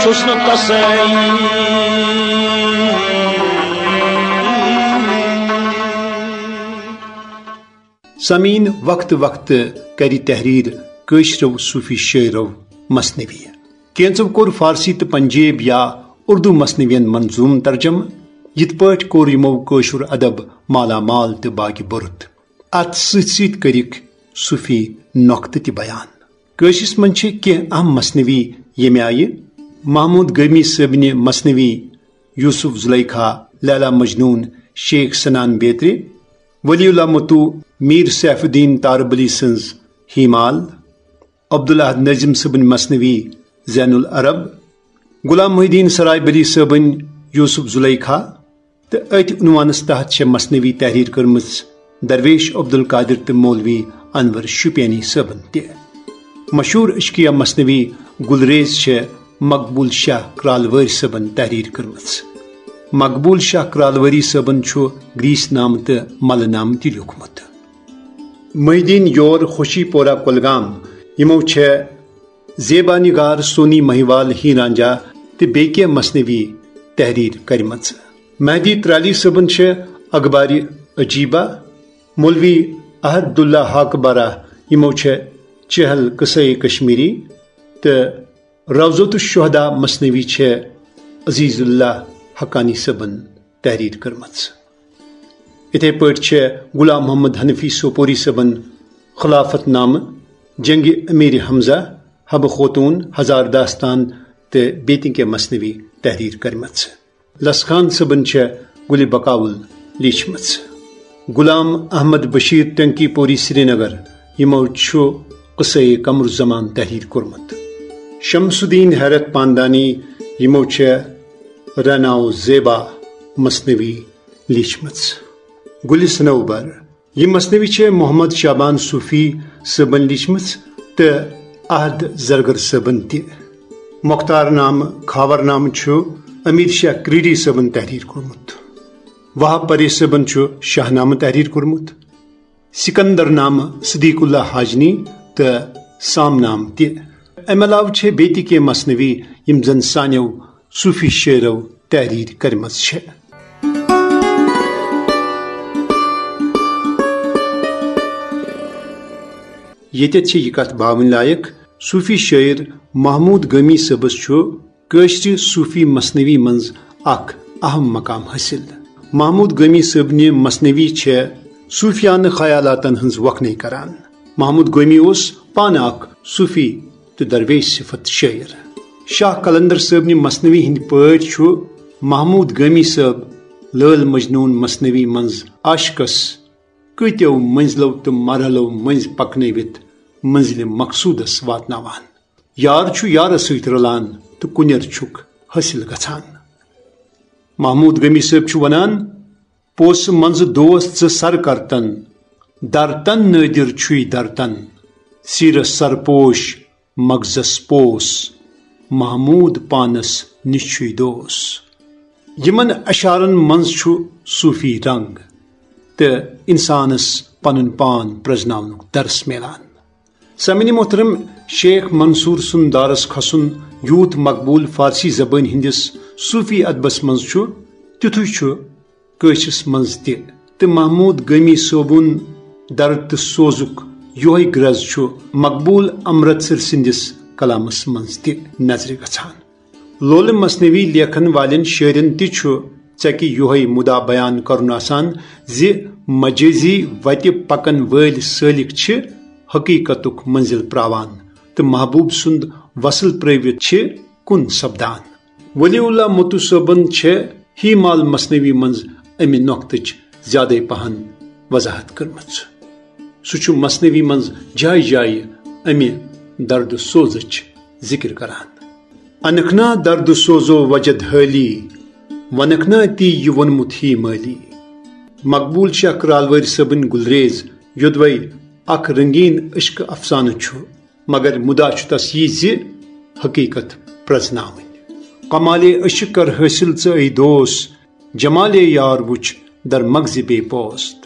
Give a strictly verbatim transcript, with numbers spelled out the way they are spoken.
حسن قصائی۔ سامعین، وقتہٕ وقتہٕ کرِ تحریر کٲشرٮ۪و صوٗفی شٲعرو مثنوی۔ کینٛژو کوٚر فارسی تہٕ پنجٲبۍ یا اردو مثنوین منظوم ترجمہٕ۔ یِتھ پٲٹھۍ کوٚر یِمو کٲشُر ادب مالا مال تہٕ باقی بوٚرُت۔ اتھ سۭتۍ سۭتۍ کٔرِکھ صوٗفی نۄقطہٕ تہِ بیان۔ کٲشرِس منٛز چھِ کینٛہہ اہم مثنوی، ییٚمہِ آیہِ محمود گٲمی صٲبنہِ مثنوی یوسف زلیخا، لیلا مجنون، شیخ سنان بیترِ، ولی اللہ متو، میر سیف الدین تاربلی سٕنٛز ہیمال، عبدالاحد ناظم صٲبٕنۍ مثنوی زین العرب، غلام محی الدین سرائے بلی صٲبٕنۍ یوسف زلیخا، تہٕ أتھۍ عنوانس تحت چھےٚ مثنوی تحریر کٔرمٕژ درویش عبدالقادر تہٕ مولوی انور شوپیانی صٲبن تہِ۔ مشہوٗر عشقیہ مثنوی گلریز چھےٚ مقبول شاہ کرالوٲرۍ صٲبن تحریر کٔرمٕژ۔ مقبول شاہ کرالوٲری صٲبن چھُ گریٖس نامہٕ تہٕ ملہٕ نامہٕ تہِ لیوٗکھمُت۔ محی الدین یور خوشی پورہ کۄلگام، یِمو چھےٚ زیبا نگار سونی مہیوال ہی رانجا تہٕ بیٚیہِ کینٛہہ مثنوی تحریر کٔرمٕژ۔ مہدی ترالی صٲبن چھےٚ اخبارِ عجیبہ، مولوی عہد اللہ حاکبرہ، یِمو چھےٚ چہل قصے کشمیری، تہٕ روضۃ الشہداء مثنوی چھےٚ عزیز اللہ حقانی صٲبن تحریر کٔرمٕژ۔ یِتھے پٲٹھۍ چھےٚ غلام محمد حنفی سوپوری صٲبن خلافت نامہٕ، جنگِ امیر حمزہ، حبہٕ خوتون، ہزار داستان تہٕ بیٚیہِ تہِ کینٛہہ مثنوی تحریر کٔرمٕژ۔ لس خان صٲبن چھےٚ گُلِ بقاول لیٖچھمٕژ۔ غلام احمد بشیر ٹنکی پوری سرینگر، یِمو چھُ قصے قمر الزمان تحریر کوٚرمُت۔ شمس الدین حیرت پاندانی، یِمو چھےٚ رعناء الزیبا مثنوی لیٖچھمٕژ۔ گُلِ صنوبر، یہِ مثنوی چھےٚ محمد شعبان صوفی صٲبن لیٖچھمٕژ تہٕ عہد زرگر صٲبن تہِ۔ مۄختار نامہٕ خاور نامہٕ چھُ امیر شاہ کریڈی صٲبن تحریر کوٚرمُت۔ وہاب پرے صٲبن چھُ شاہ نامہٕ تحریر کوٚرمُت۔ سکندر نامہٕ صدیق اللہ حاجنی تہٕ سام نامہٕ تہِ۔ امہِ علاوٕ چھےٚ بیٚیہِ تہِ کینٛہہ مثنوی، یِم زن سانیو صوفی شٲعرو تحریر کٔرمٕژ چھےٚ۔ ییٚتٮ۪تھ چھِ یہِ کتھ باوٕنۍ لایق، صوفی شٲعر محمود گٲمی صٲبس چھُ کٲشرِ صوفی مثنوی منٛز اکھ اہم مقام حٲصِل۔ محمود گٲمی صٲبنہِ مثنوی چھےٚ صوفیانہٕ خیالاتن ہٕنٛز وۄکھنے کران۔ محمود گٲمی اوس پانہٕ اکھ صوفی تہٕ درویش صفت شٲعر۔ شاہ قلندر صٲبنہِ مثنوی ہٕنٛدۍ پٲٹھۍ چھُ محمود گٲمی صٲب لٲل مجنون مثنوی منٛز عاشقس کۭتیو منزلو تہٕ مرحلو مٔنٛزۍ پکنٲوِتھ منزلِ مقصودس واتناوان۔ یار چھُ یارس سۭتۍ رلان تہٕ کُنٮ۪ر چھُکھ حٲصِل گژھان۔ محمود گٲمی صٲب چھُ ونان، پوسہٕ منٛزٕ دوس ژٕ سر کرتن، درتن نٲدِر چھُے درتن، سیرس سرپوش مغزس پوس، محمود پانس نِش چھُے دوس۔ یِمن اشعارن منٛز چھُ صوفی رنگ تہٕ انسانس پنُن پان پرزناونُک درس میلان۔ سامعین محترم، شیخ منصور سُنٛد دارس کھسُن یوٗت مقبول فارسی زبٲنۍ ہٕنٛدِس صوفی ادبس منٛز چھُ، تیُتھُے چھُ کٲشرِس منٛز تہِ۔ تہٕ محمود گٲمی صٲبُن درد تہٕ سوزُک یۄہے گرٛز چھُ مقبول امرتسر سٕنٛدِس کلامس منٛز تہِ نظرِ گژھان۔ لولہٕ مثنوی لیکھن والٮ۪ن شٲعرن تہِ چھُ ژکہِ یۄہے مُدا بیان کرُن آسان زِ مجٲزی وتہِ پکن وٲلۍ سٲلِک چھِ حقیقتُک منزل پراوان تہٕ محبوب سُنٛد وصل پرٲوِتھ چھِ کُن سپدان۔ ولی اللہ متو صٲبن چھےٚ ہی مال مثنوی منٛز امہِ نۄقطٕچ زیادَے پہن وضاحت کٔرمٕژ۔ سُہ چھُ مثنوی منٛز جایہِ جایہِ امہِ درد سوزٕچ ذکر کران۔ انکھنا درد سوزو وجد حٲلی، ونکھنا تی یہِ ووٚنمُت ہی مٲلی۔ مقبول شاہ کرالوٲرۍ صٲبٕنۍ گُلریز یوٚدوَے اکھ رنگین عشق افسانہٕ چھُ، مگر مُدا چھُ تس یی زِ حقیقت پرزناوٕنۍ۔ کمالے عشق کر حٲصِل ژٕ اے دوس، جمالے یار وُچھ در مغزِ بے پوست۔